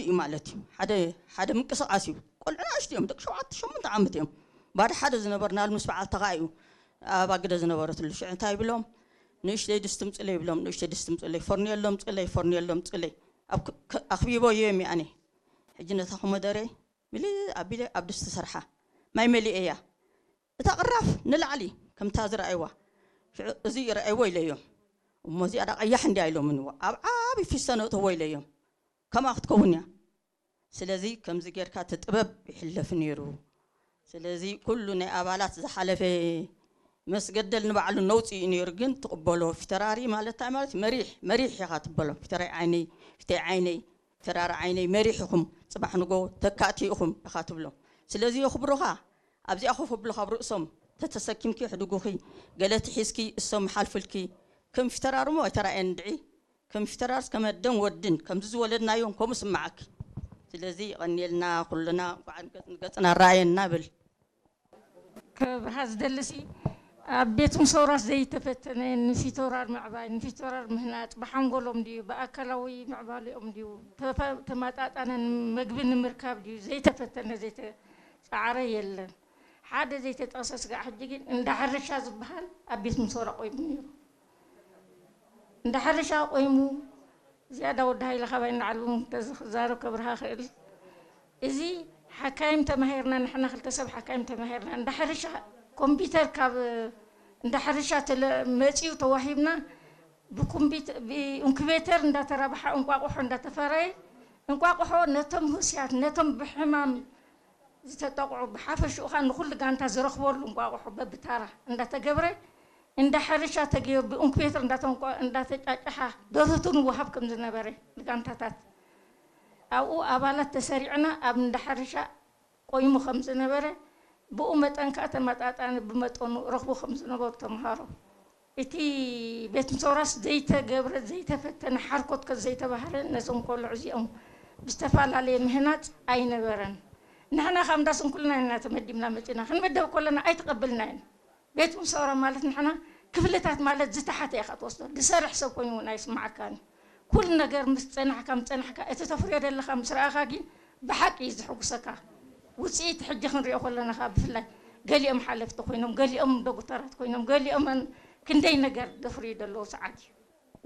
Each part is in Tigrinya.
እዩ ማለት እዩ። ሓደ ሓደ ምንቅስቃስ እዩ። ቆልዑ ንኣሽቱ እዮም፣ ደቂ ሸውዓተ ሸሞንተ ዓመት እዮም። ባዶ ሓደ ዝነበርናሉ ምስ በዓል ተኻ እዩ ኣብ ኣግደ ዝነበረትሉ። ሽዑ እንታይ ይብሎም? ንእሽተይ ድስቲ ምፅለይ ይብሎም፣ ንእሽተይ ድስቲ ምፅለይ፣ ፈርኔሎ ምፅለይ፣ ፈርኔሎ ምፅለይ። ኣብ ክ- ክ- ኣኽቢቦ እዮም ኣነ። ሕጂ ነታ ኮመደረ ምልእ ኣቢለ ኣብ ድስቲ ሰርሓ ማይ መሊኤያ። እታ ቅራፍ ንላዕሊ ከምታ ዝረኣይዋ። ሽዑ እዚ ረኣይዎ ኢለዮም። እሞ እዚኣ ዳ ቀያሕ እንድያ ኢሎምንዎ። ኣብ ዓቢ ፊስቶ ነእተዎ ኢለዮም። ከምኣ ክትከውን እያ። ስለዚ ከምዚ ጌርካ እቲ ጥበብ ይሕለፍ ነይሩ። ስለዚ ኩሉ ናይ ኣባላት ዝሓለፈ መስገደል ንባዕሉ ነውፂ እዩ ነይሩ፣ ግን ትቕበሎ ፊተራሪ ማለት እንታይ ማለት እዩ? መሪሕ መሪሕ ኢኻ ትበሎ። ፊተራይ ዓይነይ ፊተይ ዓይነይ ፊተራሪ ዓይነይ መሪሕ ኢኹም፣ ፅባሕ ንጎ ተካእቲ ኢኹም ኢኻ ትብሎ። ስለዚ የኽብሩኻ። ኣብዚኣ ኮፍ ኣብሉኻ ኣብ ርእሶም ተተሰኪምኪ ሕድጉኺ፣ ገለ ትሒዝኪ እሶም ይሓልፉልኪ። ከም ፊተራርሞ ኣይተራእየን እንድዒ። ከም ፊተራርስ ከም ኣደን ወድን ከምዚ ዝወለድናዮም ከምኡ ስምዓኪ። ስለዚ ይቐንየልና ኩልና፣ እንኳዕ ገጽ ንገጽና ኣረኣየና ብል። ከብርሃ ዝደልሲ ኣብ ቤት ምሶራስ ዘይተፈተነ ንፊቶራር ምዕባይ ንፊቶራር ምህናጽ ብሓንጎሎም ድዩ ብኣካላዊ ምዕባሊኦም ድዩ ተፈ- ተመጣጣነ ምግቢ ንምርካብ ድዩ ዘይተፈተነ ዘይተጻዕረ የለን። ሓደ ዘይተጠቕሰ ስጋዕ ሕጂ ግን እንዳ ሕርሻ ዝበሃል ኣብ ቤት ምሶራ ቆይሙ ነይሩ። እንዳ ሕርሻ ቆይሙ ዝያዳ ወዲ ሃይለ ካባይ ንዓሉ ተዝዛረብ ከብርሃ ክእል። እዚ ሓካይም ተማሂርና ንሕና ክልተ ሰብ ሓካይም ተማሂርና እንዳ ሕርሻ ኮምፒተር ካብ እንዳ ሕርሻ ተለ- መፂኡ ተዋሂብና ብኮምፒተ- ብኢንኩቤተር እንዳተራብሓ እንቋቑሖ እንዳተፈረየ እንቋቑሖ ነቶም ህስያት ነቶም ብሕማም ዝተጠቕዑ ብሓፈሽኡ ኸኣ ንኹሉ ጋንታ ዝረኽበሉ እንቋቑሖ በብታራ እንዳተገብረ እንዳ ሕርሻ ተገይሩ ብእንኩቤተር እንዳተንቆ እንዳተጫጨሓ ደርህቱ ንወሃብ ከም ዝነበረ ንጋንታታት ኣብኡ ኣባላት ተሰሪዕና ኣብ እንዳ ሕርሻ ቆይሙ ከም ዝነበረ ብኡ መጠን ከኣ ተመጣጣኒ ብመጠኑ ረኽቡ ከም ዝነበሩ ተምሃሮ እቲ ቤት ምሶራስ ዘይተገብረ ዘይተፈተነ ሓርኮት ከ ዘይተባህለ ነዞም ቆልዑ እዚኦም ብዝተፈላለየ ምህናፅ ኣይነበረን። ንሕና ካብ እንዳ ስንኩልና ኢና ተመዲብና መፂና ክንምደብ ከለና ኣይተቐበልናየን። ቤት ምሶራ ማለት ንሕና ክፍልታት ማለት ዝተሓተ ኢኻ ትወስዶ ዝሰርሕ ሰብ ኮይኑ እውን ኣይስማዓካን። ኩሉ ነገር ምስ ፀናሕካ ምስ ፀናሕካ እቲ ተፍርዮ ዘለካ ምስ ረኣኻ ግን ብሓቂ እዩ ዝሕጉሰካ። ውፅኢት ሕጂ ክንሪኦ ከለና ከዓ ብፍላይ ገሊኦም ሓለፍቲ ኮይኖም ገሊኦም ዶክተራት ኮይኖም ገሊኦም ክንደይ ነገር ዘፍርዩ ዘለዉ ሰዓት እዩ።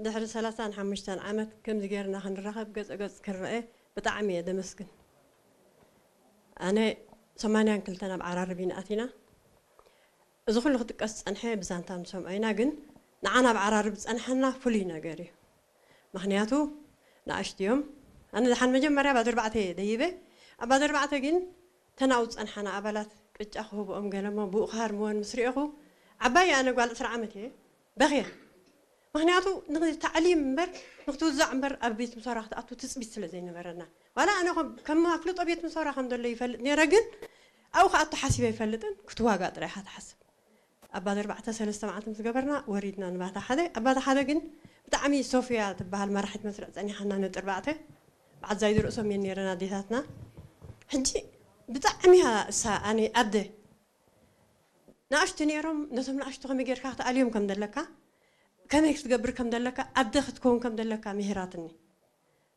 ድሕሪ ሰላሳን ሓሙሽተን ዓመት ከምዚ ጌርና ክንራኸብ ገፀ ገፅ ክንረአ ብጣዕሚ እየ ደመስግን። ኣነ ሰማንያን ክልተን ኣብ ዓራርብ ኢና ኣቲና። እዚ ኩሉ ክጥቀስ ዝፀንሐ ብዛንታ ንሰምዖ ኢና፣ ግን ንዓና ኣብ ዓራርብ ዝፀንሐና ፍሉይ ነገር እዩ። ምክንያቱ ንኣሽቱ እዮም። ኣነ ደሓን መጀመርያ ባዶ ኣርባዕተ እየ ደይበ። ኣብ ባዶ ኣርባዕተ ግን ተናው ዝፀንሓና ኣባላት ቅጫ ክህብኦም ገለሞ ብኡ ክሃርምወን ምስ ሪእኹ ዓባይ ኣነ ጓል ዕስራ ዓመት እየ በኽየ። ምክንያቱ ንታዕሊም እምበር ንክትውዛዕ እምበር ኣብ ቤት ምሶራ ክትኣቱ ትፅቢት ስለ ዘይነበረና ዋላ ኣነ ከም- ከም ኣፍልጦ ቤት ምሶራ ከም ዘሎ ይፈልጥ ነይረ ግን ኣብኡ ክኣቱ ሓሲበ ይፈልጥን ክትዋጋ ጥራይ ኢካ ትሓስብ ኣባዲ ኣርባዕተ ሰለስተ መዓልቲ ምስ ገበርና ወሪድና ንባታ ሓደ ኣባታ ሓደ ግን ብጣዕሚ ሶፍያ ትበሃል መራሒት መስርዕ ፀኒሓና ነጥርባዕተ ብዓዛይ ዝርእሶም እየን ነይረን ኣዴታትና ሕጂ ብጣዕሚ እያ እሳ ኣነ ኣደ ንኣሽቱ ነይሮም ነቶም ንኣሽቱ ከመይ ጌርካ ክትኣልዮም ከም ዘለካ ከመይ ክትገብር ከም ዘለካ ኣደ ክትከውን ከም ዘለካ ምሂራትኒ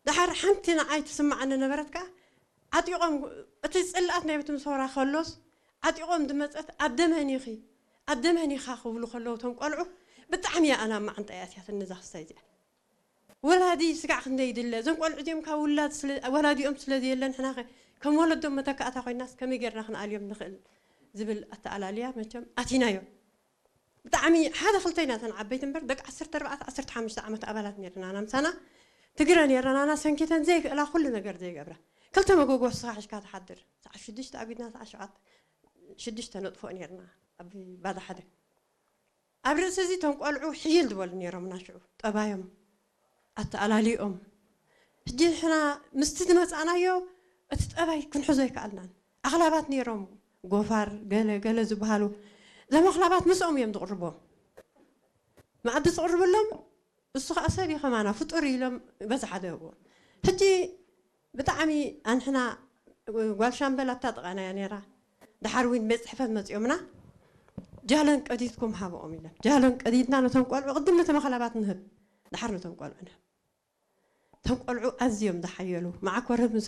ደሓር ሓንቲ ንዓይ ትስምዓኒ ነበረት ከኣ ዓጢቖም እቲ ጽልኣት ናይ ቤት ምሶራ ከሎስ ዓጢቖም ዝመጸት ኣደ መን ኢኺ ኣደ መን ኢኻ ክብሉ ከለዉ እቶም ቆልዑ ብጣዕሚ እያ ኣነ ኣብ መዓንጣ እያ ኣትያትኒ እዛ ክስታይ እዚኣ ወላዲ ስጋዕ ክንደይ ይድለ እዞም ቆልዑ እዚኦም ካብ ውላድ ስለ ወላዲኦም ስለ ዘየለ ንሕና ከ ከም ወለዶም መተካእታ ኮይናስ ከመይ ጌርና ክንኣልዮም ንኽእል ዝብል ኣተኣላልያ መቸም ኣቲናዮ ብጣዕሚ ሓደ ክልተ ኢና እተን ዓበይቲ እምበር ደቂ ዓሰርተ ኣርባዕተ ዓሰርተ ሓሙሽተ ዓመት ኣባላት ነርና ኣና ምሳና ትግረ ነርና ኣና ሰንኪተን ዘይክእላ ኩሉ ነገር ዘይገብራ ክልተ መጎጎ ስኻ ሒዝካ ትሓድር ሰዓት ሽዱሽተ ኣቢድና ሰዓት ሸውዓተ ሽዱሽተ ነጥፍኦ ነርና ኣብ ባዳ ሓደ ኣብ ርእሲ እዚ እቶም ቆልዑ ሕይል ዝበሉ ነይሮምና ሽዑ ጠባዮም ኣተኣላሊኦም ሕጂ ንሕና ምስቲ ዝመፃእናዮ እቲ ጠባይ ክንሕዞ ኣይከኣልናን ኣኽላባት ነይሮም ጎፋር ገለ ገለ ዝበሃሉ እዞም ኣኽላባት ምስኦም እዮም ዝቕርቦም መኣዲ ዝቕርብሎም እሱ ከዓ ሰብ እዩ ከማና ፍጡር ኢሎም በዛ ሓደ እዎ ሕጂ ብጣዕሚ ኣንሕና ጓል ሻምበል ኣብታ ጥቓና እያ ነይራ ደሓር እውን ቤት ፅሕፈት መፂኦምና ጃለን ቀዲድኩም ሃብኦም ኢለን ጃለን ቀዲድና ነቶም ቆልዑ ቅድም ነቶም ኣኽላባት ንህብ ደሓር ነቶም ቆልዑ ንህብ እቶም ቆልዑ ኣዝዮም ዝሓየሉ መዓኮረት ምስ